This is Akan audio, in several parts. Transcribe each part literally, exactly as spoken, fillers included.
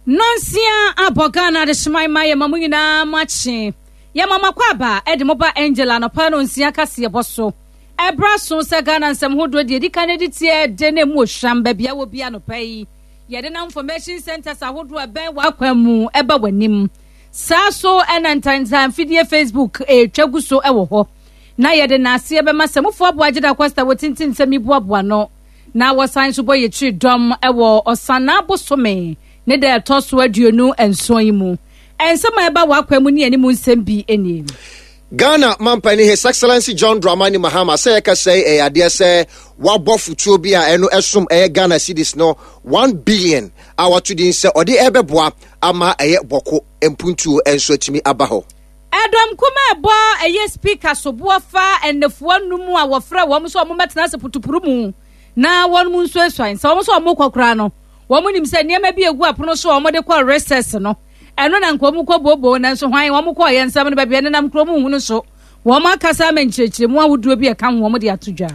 Nonsia abɔ Ghana adehyeman ma yɛma mo nyinaa makye. Yɛma mo akwaaba de mo ba Angel anɔpa no nsia kaseɛbɔ so. Ɛberɛ so sɛ Ghana nsɛm hodoɔ deɛ ɛdi kan de tie de ne mu ohwam baabi a wɔ bi anɔpa yi. Yɛde nam information centers ahodoɔ ɛbɛn w'akwan mu ɛba w'anim. Saa so ɛna ntantan fidie Facebook ɛretwa gu so ɛwɔ hɔ. Na yɛde n'aseɛ bɛma sɛ mufoɔ aboa Agye Da Costa wɔ tintin nsɛm yi boaboa no. Na wɔsan nso bɔ yɛkyiri dɔm ɛwɔ ɔsanaa bosome ne da ɛtɔ so aduonu nson yi mu. Nsɛm a ɛba w'akwan mu ne anim nsɛm bi nie. Ghana mampanin His Excellency John Dramani Mahama sɛ yɛka sɛ ɛyɛ adeɛ sɛ wabɔ fotuo bi a ɛno ɛsom ɛyɛ Ghana cedis no one billion a wato din sɛ ɔde ɛbɛboa ama ɛyɛ Bawku mpuntuo nso atumi aba hɔ. Ɛdɔm kuma ɛbɔ ɛyɛ speaker soboɔ fa ɛnɛfoɔ num a wɔfrɛ wɔn nso wɔn mɛtena ase putupuru mu na wɔn mu nso esuan sɛ wɔn nso wɔn kɔ koraa no wɔn nim sɛ nneɛma bi egu apono so a wɔde kɔ recess no ɛno na nka wɔn kɔ booboo, nanso hwan wɔn kɔ yɛn nsɛm no baabi ɛnenam kurom nhunu so wɔn akasa ama nkyerɛkyerɛmu ahodoɔ bi ɛka ho wɔn de ato dwa.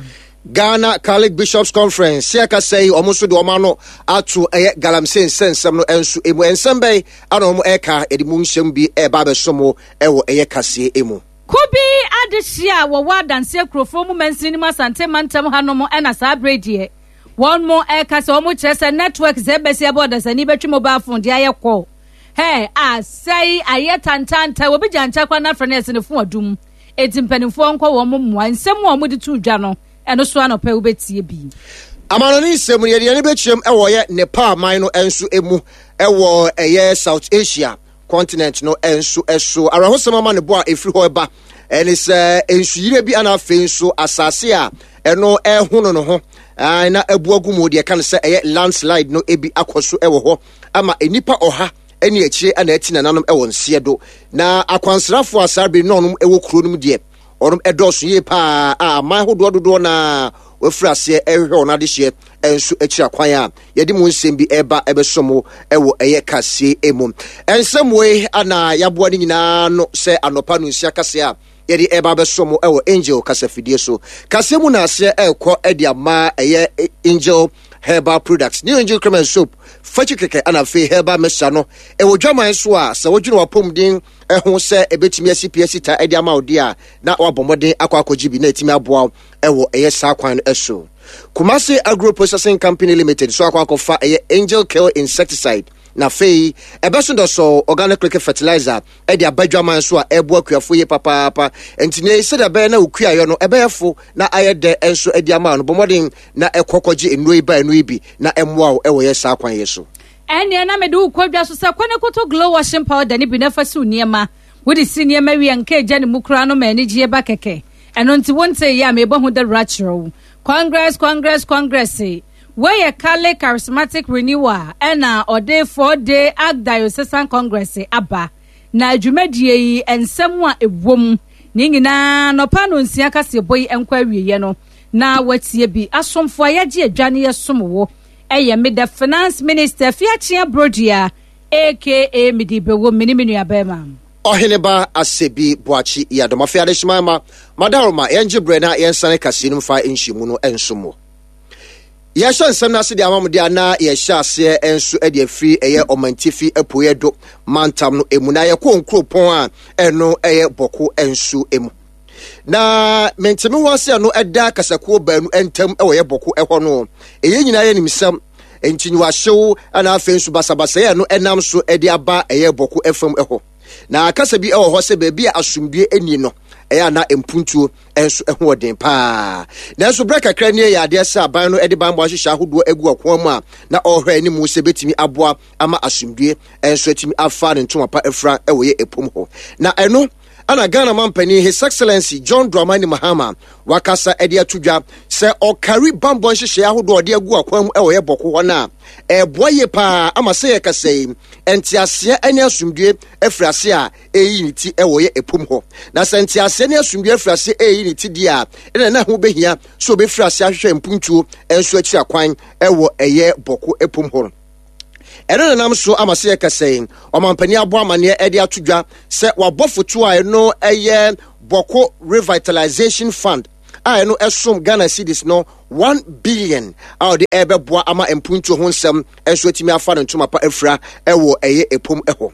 Ghana Catholic Bishops Conference sɛ ɛkasa yi, wɔn nso de wɔn ano ato ɛyɛ galamsey nsɛnsɛm no nso emu. Nsɛm bɛyi ana wɔn ɛka yɛde mu nsɛm bi ɛreba abɛso ɛwɔ ɛyɛ kaseɛ emu. Kubi adehyia a wɔwɔ adanseɛ kurofoɔ mu mansini mu Asante mantam hanom ɛna saa abere deɛ wɔn mo ɛka sɛ wɔn kyerɛ sɛ network sɛ ɛbɛsi ɛbɔ ɔdasani bɛtwi mobile phone de ayɛ kɔ hɛ asɛe ayɛ tantanta obi gya nkyɛn kora n'afɛ no ɛsɛ ne fon adum eti mpanimfoɔ nkɔ wɔn mmoa. Nsɛm a wɔn de to dwa no, ɛno so anɔpɛ wobɛtie bi. Amanɔne nsɛm no, yɛde yɛne bɛkyerɛm ɛwɔ yɛ Nepal man no nso mu ɛwɔ ɛyɛ South Asia continent no nso ɛso. Awerɛhosɛm ama ne bo a ɛfiri hɔ ɛba ɛne sɛ nsuyire bi ana afei nso asase a ɛno ɛhono no ho na abu agu mu deɛ ɛka no sɛ ɛyɛ landslide no ebi akɔ so ɛwɔ hɔ ama nnipa ɔha ɛne akyire ana ɛti nananom ɛwɔ nseɛ do. Na akwansrafoɔ a saa bere na ɔnom ɛwɔ kuro no mu deɛ ɔnom ɛdɔɔso yie paa a aman ahodoɔ dodoɔ na wafiri aseɛ ɛhwehwɛ wɔn adehyeɛ nso akyiri akwan a yɛde mu nsɛm bi ɛreba ɛbɛso mu ɛwɔ ɛyɛ kaseɛ mu. Nsɛm wei ana yɛaboa no nyinaa no sɛ anɔpa no nsia kaseɛ a yɛde ɛba abɛso mu ɛwɔ Angel kasafidie so. Kaseɛ mu na aseɛ ɛrekɔ ɛde ama ɛyɛ Angel Herbal Products, New Angel Cream and Soap fakyi kɛkɛ ana afei herbal mixture no ɛwɔ dwaman so a sɛ wodwene wapɔmuden ɛho sɛ ɛbɛtumi asi pia sita ɛde ama wo deɛ a na wabɔ mmɔden akɔ akɔgye bi na ɛtumi aboa wo ɛwɔ ɛyɛ saa kwan no ɛso. Kumasi Agro Processing Company Limited so akɔ akɔfa ɛyɛ Angel Kill insecticide na afei ɛbɛso dɔsɔ organic liquid fertilizer ɛde aba dwaman so a ɛboa akuafo yie papaapa. Nti ne sɛdeɛ ɛbɛyɛ na okuayɔ no ɛbɛyɛ fo na ayɛ dɛ nso ɛde ama no, bɔ mmɔden na ɛkɔ kɔgye nnuro yi ba nnuro yi bi na ɛmmoa wo ɛwɔ yɛ saa kwan yɛ so. Ɛnneɛ na mede wo kɔ dwa so sɛ kɔ ne koto Glow washing powder ne bi na fa siw nneɛma. Wode si nneɛma wie nka agya ne mu koraa no ma anigyeɛ ba kɛkɛ. Ɛno nti wonte yɛ a mebɔ ho dawura kyerɛ wo. Congress, Congress, Congress weyɛ Catholic Charismatic Renewal ɛna ɔde four day Archdiocesan Congress aba na dwumadie yi nsɛm a ɛwɔ mu ne nyinaa nɔpa no nsia kaseɛbɔ yi nkɔ awieɛ no na watie bi. Asomfo a yɛgye adwa ne yɛsom wo ɛyɛ me the Finance Minister Fiakyea Brodua aka mede bɛwɔ me ne me nuabɛrima. Ɔheneba Asɛbi Boakye Yɛadɔm. Afei adehyema ma madaroma yɛngye berɛ na yɛnsane kaseɛ no mfa nhyiamu no nso mu. Yɛhyɛ nsɛm no ase de ama mo deɛ na yɛhyɛ aseɛ nso de afiri ɛyɛ ɔmantifi apueɛ do mantam no emu na yɛkɔ nkuropɔn a ɛno ɛyɛ Bawku nso emu na menteme ho ase no ɛda kasakuo baanu ntam ɛwɔ yɛ Bawku ɛhɔ no. Ɛyɛ nyinaa yɛ nimsɛm nti wahyew ɛna afei nso basabasayɛ no ɛnam so ɛde aba ɛyɛ Bawku ɛfam ɛhɔ. Na kasa bi ɛwɔ hɔ sɛ baabi a asomdue ani no ɛyɛ ana mpuntuo nso ɛho ɔden paa. Nanso berɛ kakra nie yɛ adeɛ sɛ aban no ɛde banbɔ ahyehyɛ ahodoɔ agu ɔkwan mu a na ɔrehwɛ anim sɛ bɛtumi aboa ama asomdue nso atumi afa ne ntoma pa afira ɛwɔ yɛ ɛpom hɔ. Na ɛno ana Ghana mampanin His Excellency John Dramani Mahama wakasa ɛde ato dwa sɛ ɔkari bambɔ nhyehyɛeɛ ahodoɔ ɔde agu akwan mu ɛwɔ yɛ Bawku hɔ no a ɛboa yie paa ama sɛ yɛkasa yi nteaseɛ ne asomdue afiri ase a ɛyi ne ti ɛwɔ yɛ ɛpom hɔ. Na sɛ nteaseɛ ne asomdue afiri ase ɛyi ne ti deɛ a ɛna na ho bɛhia sɛ obɛfiri ase ahwehwɛ mpuntuo nso akyiri akwan ɛwɔ ɛyɛ Bawku ɛpom hɔ no. Ɛno nenam so ama sɛ yɛkasa yi ɔmampanin abɔ amanneɛ ɛde ato dwa sɛ wabɔ foto a ɛno ɛyɛ Bawku Revitalization Fund a ɛno ɛsom Ghana cedis no one billion a ɔde ɛbɛboa ama mpuntuo ho nsɛm nso atumi afa ne ntoma pa afira ɛwɔ ɛyɛ epom ɛhɔ.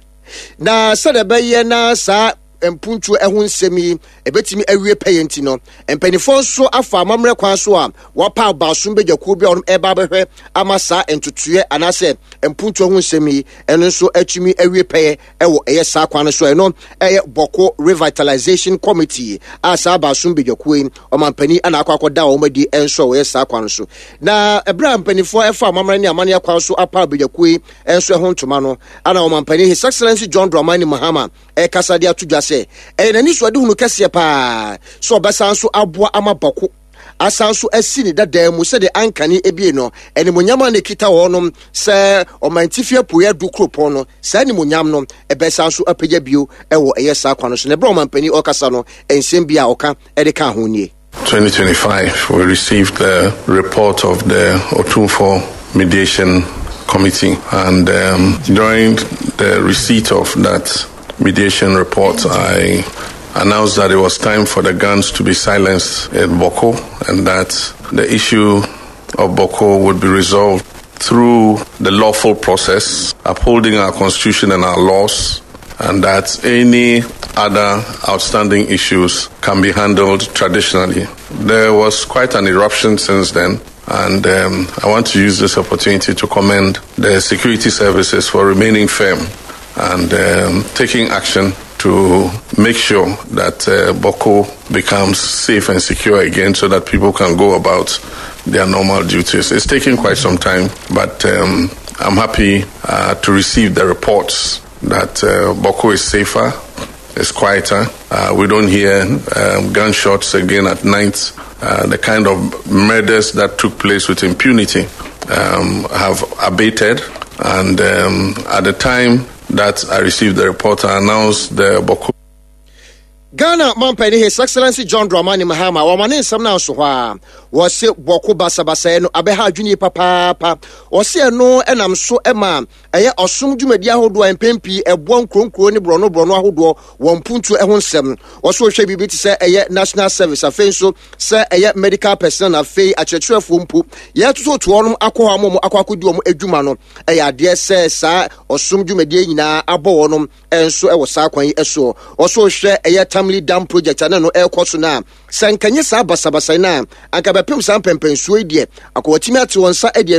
Na sɛdeɛ ɛbɛyɛ na saa mpuntuo ɛho nsɛm yi ɛbɛtumi awie pɛyɛ nti no, mpanimfoɔ nso afa amammerɛ kwan so a wɔapa abaasom badwakuo bi a wɔn ɛba abɛhwɛ ama saa ntotoeɛ anaasɛ mpuntuo ho nsɛm yi ɛno nso atumi awie pɛyɛ ɛwɔ ɛyɛ saa kwan no so. Ɛno ɛyɛ Bawku Revitalization Committee a saa abaasom badwakuo yi, ɔmampanin ana akɔ akɔda wɔn adi nso a wɔyɛ saa kwan no so. Na ɛberɛ a mpanimfoɔ ɛfa amammerɛ ne amanneɛ kwan so apa badwakuo yi nso ɛho ntoma no, ana ɔmampanin, His Excellency John Dramani Mahama, ɛkasa de ato dwa sɛ ɛyɛ n'ani so ade hunu kɛseɛ paa sɛ ɔbɛsan so aboa ama Bawku asan so asi ne dadan mu sɛdeɛ ankane ebie no. Animonyam a ne kita wɔnom sɛ ɔmantifi apueɛ du kuropɔn no, saa animonyam no ɛbɛsan so apagya bio ɛwɔ ɛyɛ saa kwan no so. Na ɛberɛ ɔmampanin ɔkasa no, nsɛm bi a ɔka ɛde ka ho nie. twenty twenty-five, we received the report of the Otumfuo Mediation Committee, and um, during the receipt of that mediation report, I announced that it was time for the guns to be silenced in Bawku and that the issue of Bawku would be resolved through the lawful process, upholding our constitution and our laws, and that any other outstanding issues can be handled traditionally. There was quite an eruption since then, and um, I want to use this opportunity to commend the security services for remaining firm and um, taking action to make sure that uh, Bawku becomes safe and secure again so that people can go about their normal duties. It's taken quite some time, but um, I'm happy uh, to receive the reports that uh, Bawku is safer, it's quieter. Uh, we don't hear um, gunshots again at night. Uh, the kind of murders that took place with impunity um, have abated. And um, at the time that I received the report, I announced the Bawku Ghana mampanin, His Excellency John Dramani Mahama, wɔma ne nsɛm no nso hɔ a wɔse Bawku basabasɛe no abɛha adwene papaapa. Wɔse ɛno ɛnam so ma ɛyɛ ɔsom dwumadi ahodoɔ a mpɛn pii ɛboa nkuronkuro ne borɔno borɔno ahodoɔ wɔ mpuntuo ho nsɛm. Wɔso wɔhwɛ biribi te sɛ ɛyɛ national service, afei nso sɛ ɛyɛ medical personnel na afei akyerɛkyerɛfoɔ mpo, yɛtototoɔ nom akɔ hɔ ama wɔn akɔ akɔdi wɔn adwuma no. Ɛyɛ adeɛ sɛ saa ɔsom dwumadie nyinaa abɔ wɔnom nso ɛwɔ saa kwan yi soɔ. Ɔso hwɛ ɛyɛ Tamale Dam project a ne no ɛrekɔ so no a, sɛ nkanyɛ saa basabasa no a anka bɛpem saa mpɛmpɛnsuo yi deɛ akɔwatumi ate wɔn nsa de.